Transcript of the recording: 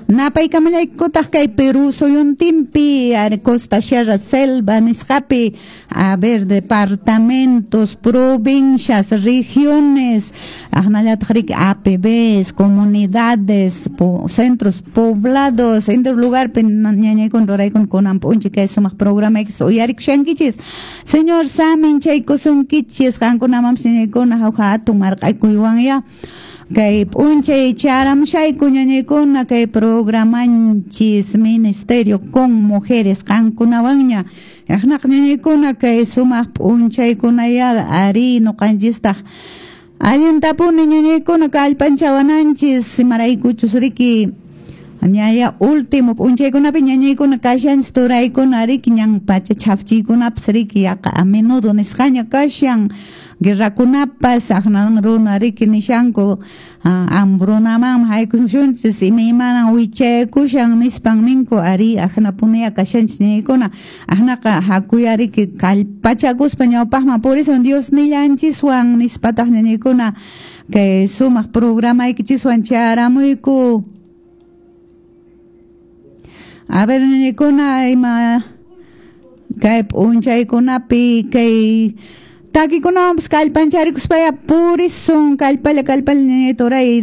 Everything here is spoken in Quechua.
Napaykamalaykutaq kay Perú suyuntinpi, Costa, Sierra, Selva nisqapi, a ver, departamentos, provincias, regiones, aqnallataq riki APBs, comunidades, centros poblados, entero lugarpi ñañaykuna ruraykuna kunan p'unchay kay sumaq programaykichis uyarikushankichis. Señor samin chaykusunkichis qankunamanpis ñañaykuna hawka hatun marq'akuywanya. Kay p'unchay charamushayku ñañaykuna kay programanchis Ministerio con Mujeres qankunawanña. Aqnaqa ñañaykuna kay sumaq p'unchaykunaya ari nuqanchistaq allintapuni ñañaykuna kallpanchawananchis imaraykuchus riki ñaya último p'unchaykunapi ñañaykuna kashanchis turaykuna riki ñan pacha chhafchiykunapas riki yaqa a menudo nisqaña kashan guerrakunapas aqnan runa riki nishanku hambrunamanmi haykushunchis imaymanan wichaykushan nispan ninku ari aqnapuniya kashanchis ñañaykuna aqnaqa hakuya riki kallpachakuspa ñawpaqman purisun Dios nillanchiswan nispataq ñañaykuna kay sumaq programaykichiswan charamuyku. A ver, ñañaykuna ima kay p'unchaykunapi kay takikunawanpas kallpancharikuspa purisun kallpalla kallpalla ñañay turay.